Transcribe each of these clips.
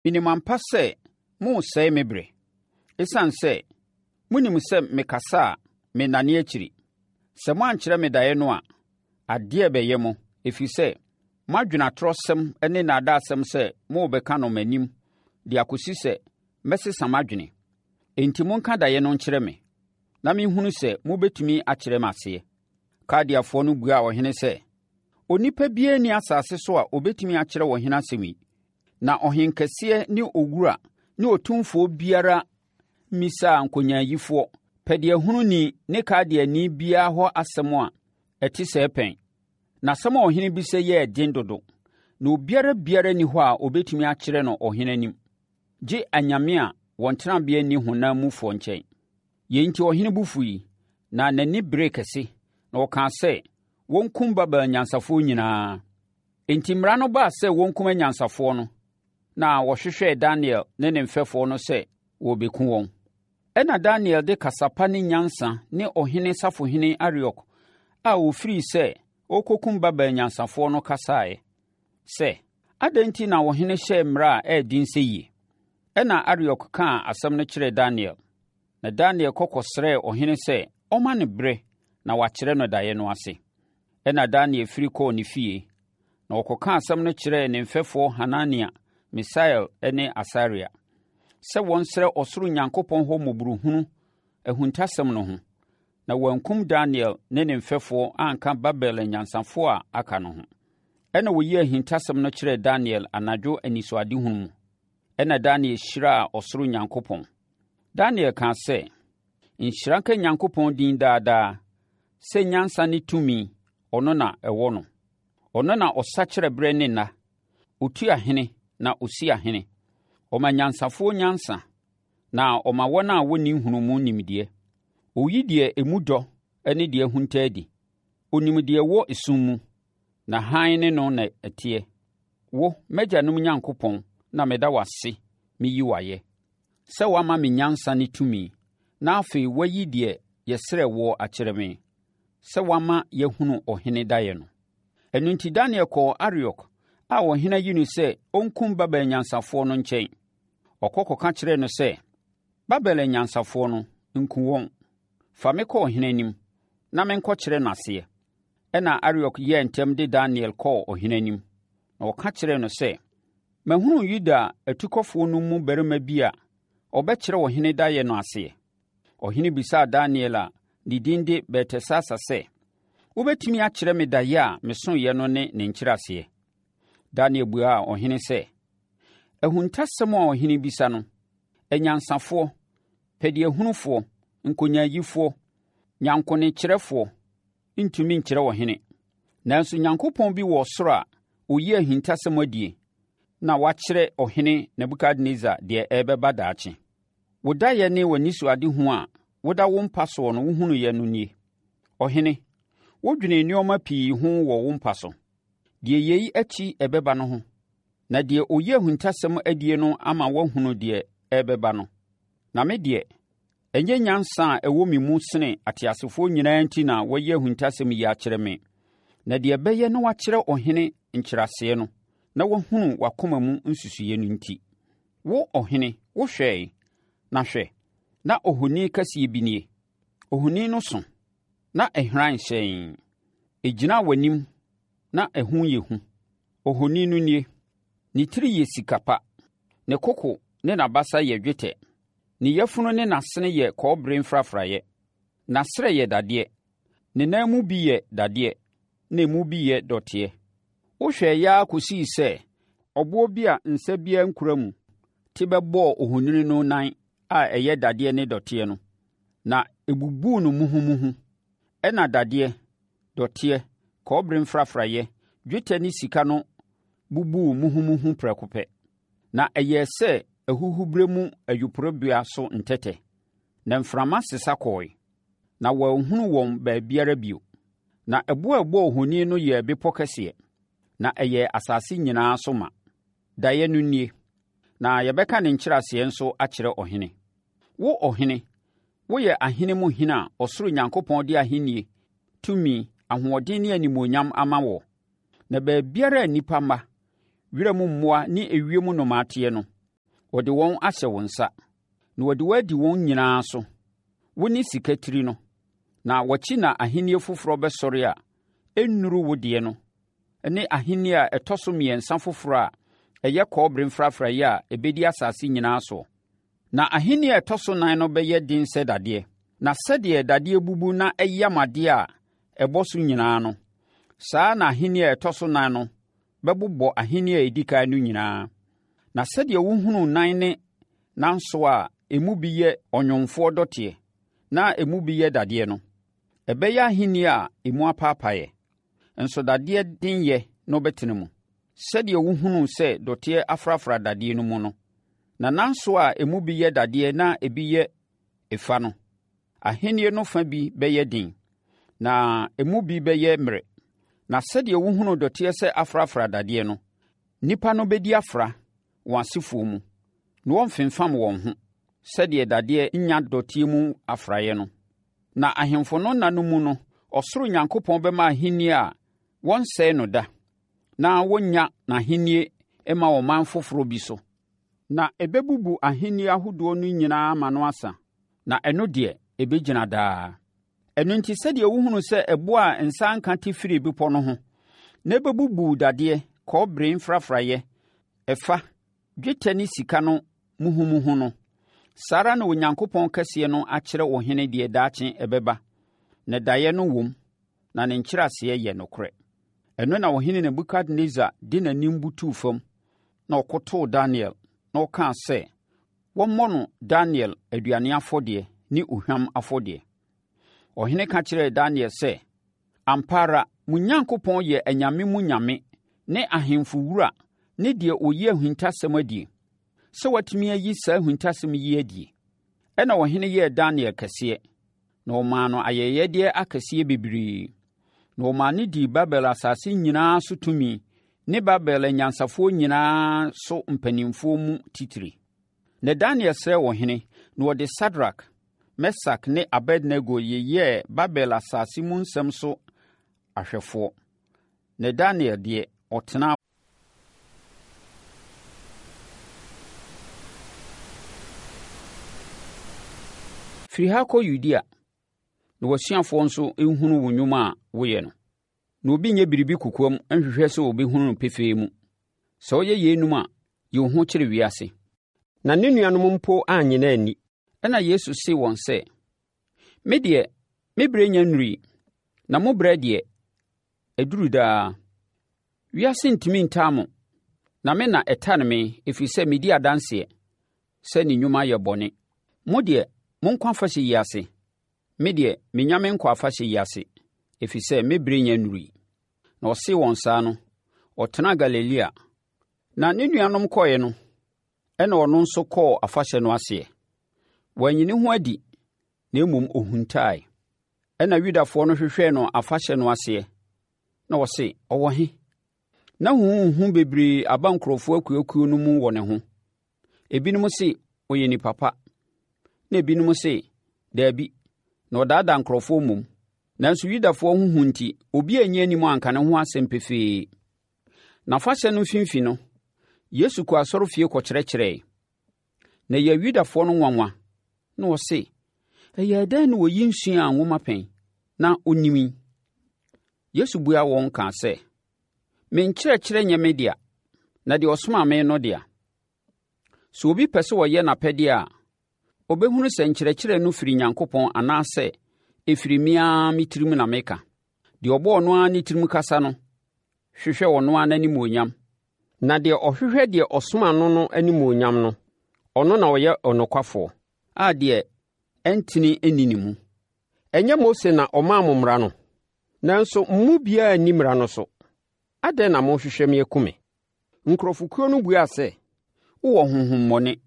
Menim ampa sɛ moresɛe me berɛ, ɛsiane sɛ monim sɛ mekasa a mennane akyiri. Sɛ moankyerɛ me daeɛ no a, adeɛ rebɛyɛ mo, ɛfiri sɛ moadwene atorɔsɛm ne nnaadaasɛm sɛ morebɛka no m'anim de akɔsi sɛ mɛsesa m'adwene. Enti monka daeɛ no nkyerɛ me, na menhunu sɛ mobɛtumi akyerɛ me aseɛ. Kaldeafoɔ no buaa ɔhene sɛ, Onipa biara nni asase so a ɔbɛtumi akyerɛ ɔhene asɛm yi. Na ɔhenkɛseɛ ne owura ne otumfoɔ biara mmisaa nkonyaayifoɔ, pɛdeɛhununi ne Kaldeani biara hɔ asɛm a ɛte sɛɛ pɛn. Na asɛm a ɔhene bisa yi yɛ den dodo, na obiara biara nni hɔ a ɔbɛtumi akyerɛ no ɔhene anim, gye anyame a wɔn tenabea nni honam mufoɔ nkyɛn. Yei nti ɔhene bo fui, na n'ani beree kɛse, na ɔkaa sɛ wɔnkum Babel anyansafoɔ nyinaa. Enti mmara no baa sɛ wɔnkum anyansafoɔ no, na wɔhwehwɛɛ Daniel ne ne mfɛfoɔ no sɛ wɔrebɛku wɔn. Ɛnna Daniel de kasa pa ne nyansa ne ɔhene safohene Ariok a ɔfirii sɛ ɔrekɔkum Babel anyansafoɔ no kasaeɛ sɛ, Adɛn nti na ɔhene hyɛɛ mmara a ɛyɛ den seyie? Ɛnna Ariok kaa asɛm no kyerɛɛ Daniel. Na Daniel kɔ kɔsrɛɛ ɔhene sɛ ɔmma no berɛ na wakyerɛ no daeɛ no ase. Ɛnna Daniel firi kɔɔ ne fie, na ɔkɔkaa asɛm no kyerɛɛ ne mfɛfoɔ Hanania, Misael ne Asaria, sɛ wɔnsrɛ ɔsoro Nyankopɔn hɔ mmɔborɔhunu ahuntasɛm no ho, na wɔankum Daniel ne ne mfɛfoɔ anka Babel anyansafoɔ a aka no ho. Ɛnna wɔyii ahintasɛm no kyerɛɛ Daniel anadwo anisoadehunu mu. Ɛnna Daniel hyiraa ɔsoro Nyankopɔn. Daniel kaa sɛ, Nhyira nka Nyankopɔn din daa daa, sɛ nyansa ne tumi, ɔno na ɛwɔ no. Ɔno na ɔsakyera berɛ ne nna. Ɔtu ahene na ɔsi ahene. Ɔma anyansafoɔ nyansa, na ɔma wɔn a wɔnni nhunumu nimdeɛ. Ɔyi deɛ emu dɔ ne deɛ ahunta adi. Ɔnim deɛ ɛwɔ esum mu, na hann ne no na ɛteɛ. Wo, m'agyanom Nyankopɔn, na meda wo ase meyi wo ayɛ. Sɛ woama me nyansa ne tumi, na afei woayi deɛ yɛsrɛɛ woɔ akyerɛ me, sɛ woama yɛahunu ɔhene daeɛ no. Ɛno nti Daniel kɔɔ Ariok a ɔhene ayi no sɛ ɔnkum Babel anyansafoɔ no nkyɛn. Ɔkɔ kɔka kyerɛɛ no sɛ, Babel anyansafoɔ no, nku wɔn. Fa me kɔ ɔhene anim, na menkɔkyerɛ no aseɛ. Ɛnna Ariok yɛɛ ntɛm de Daniel kɔɔ ɔhene anim, na ɔka kyerɛɛ no sɛ, Mahunu Yuda atukɔfoɔ no mu barima bi a ɔbɛkyerɛ ɔhene daeɛ no aseɛ. Ɔhene bisaa Daniel a ne din de Beltesasar sɛ, Wobɛtumi akyerɛ me daeɛ a mesoeɛ no ne ne nkyerɛaseɛ? Daniel buaa ɔhene sɛ, Ahuntasɛm a ɔhene bisa no, anyansafoɔ, pɛdeɛhunufoɔ, nkonyaayifoɔ, nyankonekyerɛfoɔ ntumi nkyerɛ ɔhene. Nanso Nyankopɔn bi wɔ ɔsoro a ɔyi ahintasɛm adie na wakyerɛ ɔhene Nebukadnessar deɛ ɛrebɛba daakye. Wo daeɛ ne w'anisoadehu a woda wo mpa soɔ no wohunuiɛ no nie. Ɔhene, wodwenee nneɛma pii ho wɔ wo mpa so, deɛ yei akyi ɛbɛba no ho, na deɛ ɔyi ahintasɛm adie no ama woahunu deɛ ɛrebɛba no. Na me deɛ, Ɛnyɛ nyansa a ɛwɔ me mu sene ateasefoɔ nyinaa nti na wɔayi ahuntasɛm yi akyerɛ me, na deɛ ɛbɛyɛ na wɔakyerɛ ɔhene nkyerɛaseɛ no, na wahunu w'akoma mu nsusuiɛ no nti. Wo, ɔhene, wohwɛe, na hwɛ, na ohoni kɛseɛ bi nie. Ohoni no so, na ɛhran hyɛnn. Ɛgyinaa w'anim, na ɛho yɛ hu. Ohoni no nie. Ne tiri yɛ sika pa, ne koko ne n'abasa yɛ dwetɛ. Ne yafunu ne n'asene yɛ kɔbere mfrafraeɛ. N'asrɛ yɛ dadeɛ. Ne nan mu bi yɛ dadeɛ na emu bi yɛ dɔteɛ. Wohwɛeɛ ara kɔsii sɛ ɔboɔ bi a nsa biara nkura mu te bɛbɔɔ ohoni no nan a ɛyɛ dadeɛ ne dɔteɛ no, na ɛbubuu no muhumuhu. Ɛnna dadeɛ, dɔteɛ, kɔbere mfrafraeɛ, dwetɛ ne sika no bubuu muhumuhu prɛko pɛ. Na ɛyɛɛ sɛ ahuhuberɛ mu ayuporebea so ntɛtɛ, na mframa sesa kɔɔe, na wɔanhunu wɔn baabiara bio. Na ɛboɔ a ɛbɔɔ ohoni no yɛɛ bepɔ kɛseɛ, na ɛyɛɛ asase nyinaa so ma. Daeɛ no nie, na yɛbɛka ne nkyerɛaseɛ nso akyerɛ ɔhene. Wo ɔhene, woyɛ ahene mu hene a ɔsoro Nyankopɔn de ahennie, tumi, ahoɔden ne animuonyam ama woɔ. Na baabiara a nnipa mma, wiram mmoa ne ewiem nnomaa teɛ no, Ɔde wɔn ahyɛ wo nsa, na wɔde wo adi wɔn nyinaa so. Wone sika tiri no, na w'akyi na ahennie foforɔ bɛsɔre a ɛnnuru wo deɛ no ne ahennie a ɛtɔ so mmiɛnsa foforɔ a ɛyɛ kɔbere mfrafraeɛ a ɛbɛdi asase nyinaa soɔ. Na ahennie a ɛtɔ so nan no bɛyɛ den sɛ dadeɛ, na sɛdeɛ dadeɛ bubu na ɛyam adeɛ a ɛbɔ so nyinaa no, saa ara na ahennie a ɛtɔ so nan no bɛbobɔ ahennie a ɛdi kan no nyinaa. Na sɛdeɛ wohunuu nan ne nanso a emu bi yɛ ɔnwomfoɔ dɔteɛ na emu bi yɛ dadeɛ no, ɛbɛyɛ ahennie a emu apaapaeɛ, nso dadeɛ denyɛ no bɛtena mu, sɛdeɛ wohunuu sɛ dɔteɛ afrafra dadeɛ no mu no. Na nanso a emu bi yɛ dadeɛ na ebi yɛ efa no, ahennie no fa bi bɛyɛ den, na emu bi bɛyɛ mmerɛ. Na sɛdeɛ wohunuu dɔteɛ sɛ afrafra dadeɛ no, nnipa no bɛdi afra wɔn asefoɔ mu, na wɔmfemfam wɔn ho sɛdeɛ dadeɛ nnya dɔteɛ mu afraeɛ no. Na ahemfo no nna no mu no, ɔsoro Nyankopɔn bɛma ahennie a wɔnsɛe no da, na wɔnnya n'ahennie mma ɔman foforɔ bi so. Na ɛbɛbubu ahennie ahodoɔ no nyinaa ma no asa, na ɛno deɛ, ɛbɛgyina daa. Ɛno nti, sɛdeɛ wohunu sɛ ɛboɔ a nsa nka te firii bepɔ no ho, na ɛbɛbubuu dadeɛ, kɔbere mfrafraeɛ, ɛfa, dwetɛ ne sika no muhumuhu no, saa ara na Onyankopɔn kɛseɛ no akyerɛ ɔhene deɛ daakye ɛbɛba, na daeɛ no wom, na ne nkyerɛaseɛ yɛ nokorɛ. Ɛno na ɔhene Nebukadnesar de n'anim butuu fam, na ɔkotoo Daniel, na ɔkaa sɛ wɔmmɔ no Daniel aduane afɔdeɛ ne ohwam afɔdeɛ. Ɔhene ka kyerɛɛ Daniel sɛ, Ampa ara, mo Nyankopɔn yɛ anyame mu nyame ne ahemfo wura ne deɛ ɔyi ahintasɛm adie, sɛ watumi ayi saa ahintasɛm yi adie. Ɛnna ɔhene yɛɛ Daniel kɛseɛ, na ɔmaa no ayɛyɛdeɛ akɛseɛ bebree. Na ɔmaa no dii Babel asase nyinaa so tumi ne Babel anyansafoɔ nyinaa so mpanimfoɔ mu titire. Na Daniel srɛɛ ɔhene, na ɔde Sadrak, Mesak ne Abednego yeyɛɛ Babel asase mu nsɛm so ahwɛfoɔ. Na Daniel deɛ, ɔtenaa Firi ha kɔ Yudea, na w'asuafoɔ nso nhunu wo nnwuma a woyɛ no. Na obi nyɛ biribi kokoam nhwehwɛ sɛ wɔbɛhunu no pefee mu. Sɛ woyɛ yeinom a, yi wo ho kyerɛ wiase. Na ne nuanom mpo annye no anni. Ɛnna Yesu see wɔn sɛ, Me deɛ, me berɛ nnya nnurui, na mo berɛ deɛ, aduru daa. Wiase ntumi ntaa mo, na me na ɛtane me, ɛfiri sɛ medi adanseɛ sɛ ne nnwuma yɛ bɔne. Mo deɛ, monkɔ afahyɛ yi ase. Me deɛ, mennya menkɔ afahyɛ yi ase, ɛfiri sɛ me berɛ nnya nnurui. Na ɔsee wɔn saa no, ɔtenaa Galilea. Na ne nuanom kɔeɛ no, ɛnna ɔno nso kɔɔ afahyɛ no aseɛ. Wanyi ne ho adi, na mmom ɔhuntaae. Ɛnna Yudafoɔ no hwehwɛɛ no afahyɛ no aseɛ, na wɔse, Ɔwɔ he? Na huhuhuhu bebree aba nkurɔfoɔ akuakuo no mu wɔ ne ho. Ebinom se, Ɔyɛ nipa pa, na ebinom se, Dabi, na ɔdaadaa nkurɔfoɔ mmom. Nanso Yudafoɔ ho hu nti, obi anyi anim anka ne ho asɛm pefee. Na afahyɛ no mfimfini no, Yesu kɔɔ asɔrefie kɔkyerɛkyerɛe. Na ɛyɛɛ Yudafoɔ no nwanwa, na wɔse, Ɛyɛɛ dɛn na oyi nsuaa nwoma pɛn na ɔnim yi? Yesu buaa wɔn kaa sɛ, Me nkyerɛkyerɛ nyɛ me dea, na deɛ ɔsomaa me no dea. Sɛ obi pɛ sɛ ɔyɛ n'apɛdeɛ a, ɔbɛhunu sɛ nkyerɛkyerɛ no firi Nyankopɔn anaasɛ ɛfiri me ara me tirim na meka. Deɛ ɔbɔ ɔno ara ne tirim kasa no hwehwɛ ɔno ara n'animuonyam. Na deɛ ɔhwehwɛ deɛ ɔsoma no no animuonyam no, ɔno na ɔyɛ ɔnokwafoɔ, a deɛ ɛntene nni ne mu. Ɛnyɛ Mose na ɔmaa mo mmara no? Nanso mo mu biara nni mmara no so. Adɛn na mohwehwɛ me aku me? Nkurɔfokuo no buaa sɛ, Wowɔ honhommɔne.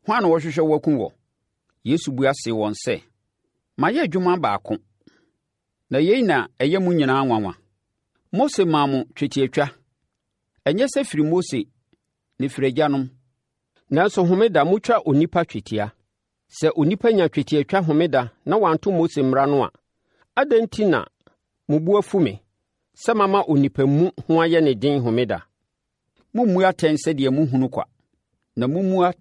Hwan na ɔrehwehwɛ wo aku wɔ? Yesu bua see wɔn sɛ, Mayɛ adwuma baako, na yei na ɛyɛ mo nyinaa nwanwa. Mose maa mo twetiatwa. Ɛnyɛ sɛ firi Mose, na ɛfiri agyanom. Nanso homeda motwa onipa twetia. Sɛ onipa nya twetiatwa homeda na wanto Mose mmara no a, adɛn nti na mo bo afu me sɛ mama onipa mu ho ayɛ no den homeda? Mommu atɛn sɛdeɛ mohunu kwa, na mommu atɛn.